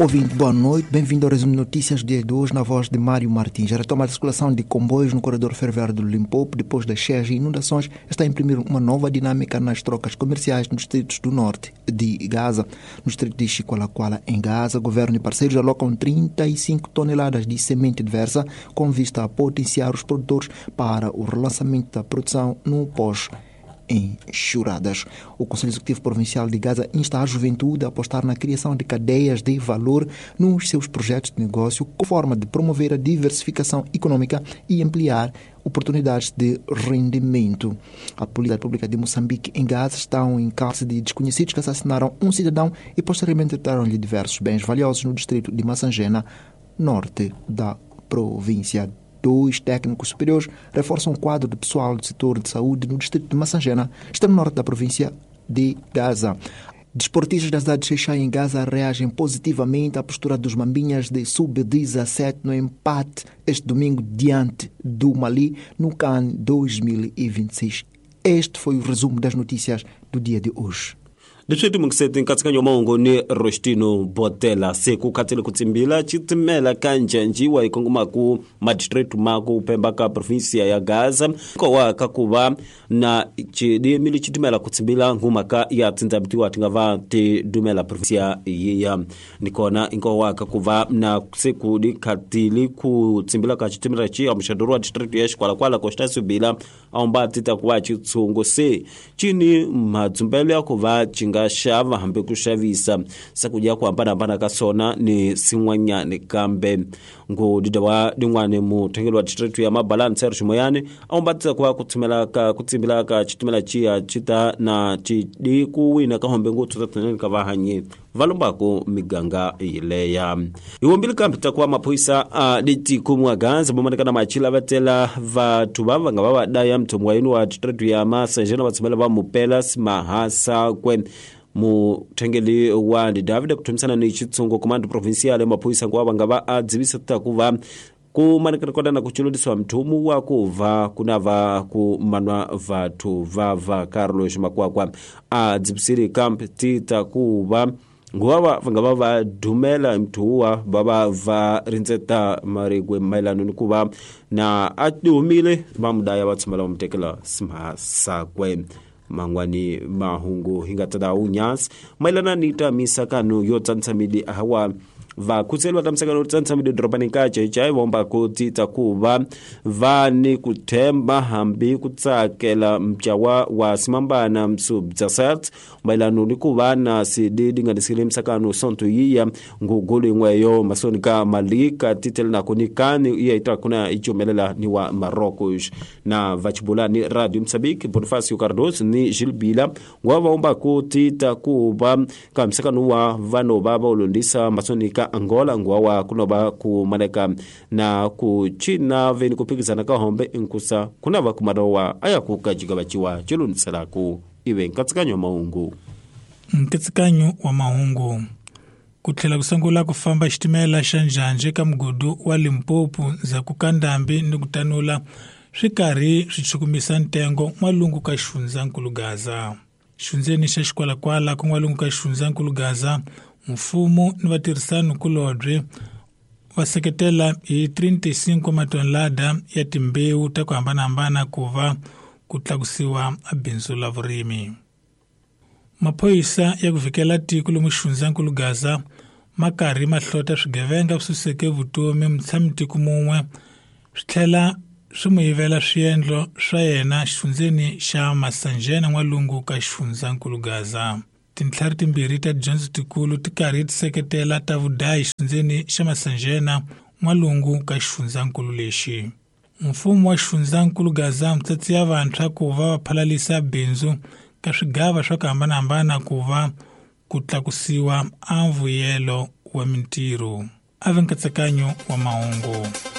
Ouvinte, boa noite. Bem-vindo ao resumo de notícias do dia de hoje, na voz de Mário Martins. A retoma da circulação de comboios no corredor ferroviário do Limpopo, depois das cheias e inundações, está a imprimir uma nova dinâmica nas trocas comerciais nos distritos do norte de Gaza. No distrito de Chicualacuala, em Gaza, governo e parceiros alocam 35 toneladas de semente diversa, com vista a potenciar os produtores para o relançamento da produção no pós enxurradas. O Conselho Executivo Provincial de Gaza insta a juventude a apostar na criação de cadeias de valor nos seus projetos de negócio, com forma de promover a diversificação econômica e ampliar oportunidades de rendimento. A Polícia Pública de Moçambique em Gaza estão em cárcere de desconhecidos que assassinaram um cidadão e posteriormente retiraram-lhe diversos bens valiosos no distrito de Massangena, norte da província. Dois técnicos superiores reforçam o quadro de pessoal do setor de saúde no distrito de Massangena, extremo norte da província de Gaza. Desportistas da cidade de Xexai, em Gaza, reagem positivamente à postura dos Mambinhas de Sub-17 no empate este domingo diante do Mali no CAN 2026. Este foi o resumo das notícias do dia de hoje. Leswi timungiseti nkatsakanyo mahungu ni Rostino Botela se ku khatsile ku tsimbila xitimela ka njanjiwa hi kongomaku madistrict ma ku pemba ka provinsia ya Gaza kowa ka ku va na xidimile xitimela ku tsimbila ngumaka ya tsindzabitiwa ti nga va ti dumela provinsia yiya ni kona inkowa ka ku va na se ku di khatili ku tsimbila ka xitimela xi amuxadoro wa district ya Xikwalakwala Costa Subila awumba ti ta ku va xitshungu se cini madzumbelo ya ku va xi nga xava hambi ku xavisa swakudya ku hambanahambana ka swona ni swin'wanyani kambe ngudida wa din'wani muthengeli wa district ya Mabalani Serge Moyani a wumbatisa ku va ku tshimela ka ku tsimbila ka xitimela xiya xi ta na xidi ku wina ka hombe ngopfu ta ka vahanyi va lombaku miganga yileya hi wombile kambe ta ku va maphorisa a litiko mwa Gaza vomaneka na machila va tela vathu va va nga va va daya muthomi wa yini wa district ya Masanjena va tshumela va mupela Simahasakwe muthengeli wa ndi David ku thumisana ni xitshungu command provincial maphorisa nkuva va nga va a dzivisa ta ku va ku manekana na ku cululisiwa mthumu wa ku va ku na va ku manwa vathu va va Carlos Makwakwa a dzivisile kambe ti ta ku va nguva va nga va va dumela mthuwa va va va rindzeta marigwe mayelana ni ku va na a humile va mudaya va tshumela va mu tekela Simhasakwe mangwani mahungu hi nga ta unyasi mayelana ni ta misakano yo tsanisa midi hawa vakhutseli va ta misakano yo tsanisa midi dorobani ka Chechai vomba ku tita ku va va ni ku themba hambi ku tsakela mcawa wa Simambana Msubjasat mayelana ni ku va na sididi nga disile misakano sonto yiya ngugulu yin'weyo masoni ka Malika titele na ku ni kani iya ita kuna ichumelela ni wa Marocos na vachibula ni Radio Mozambique Bonifacio Cardoso ni Gilbila ngwa vaomba ku tita ku va ka misakano wa vanhu va va ulondisa masoni ka Angola ngwa wa kunoba ku maneka na ku China veni ku phikizana ka hombe inkusa kuna va kumarowa aya ku kajika bachiwa chilundisela ku ive nkatsakanyo mahungu. Nkatsakanyo wa mahungu ku tlhela ku sungula ku famba xitimela xa njhanje ka mugudu wa Limpopo ndzhaku ka ndhambi ni ku tanula swi karhi swi chukumisa ntengo n'walungu ka xifundzankulu Gaza. Xfundzeni xa Xikwalakwala ku n'walungu ka xifundzankulu Gaza, mfumo ni vatirhisani kulobye va seketela hi 35 matonelada ya timbewu ta ku hambanahambana ku va ku tlakusiwa bindzu la vurimi. Maphorisa ya ku vhikela tiko lomu xifundzankulu Gaza ma karhi ma hlota swigevenga swi suseke vutomi mutshami-tiko mun'we swi tlhela swi mu yivela swiendlo swa yena xifundzeni xa Masanjena n'walungu ka xifundzankulu Gaza. Tintlhari timbirhi ta tidyondzo tikulu ti karhi ti seketela ta vudayi xifundzeni xa Masanjena n'walungu ka xifundzankulu lexi. Mfumo wa xifundzankulu Gaza mitsatsi ya vantshwa ku va va phalalisa bindzu ka swigava swa ku hambanahambana ku va ku tlakusiwa a mvuyelo wa mintirho. A ve nkatsakanyo wa mahungu.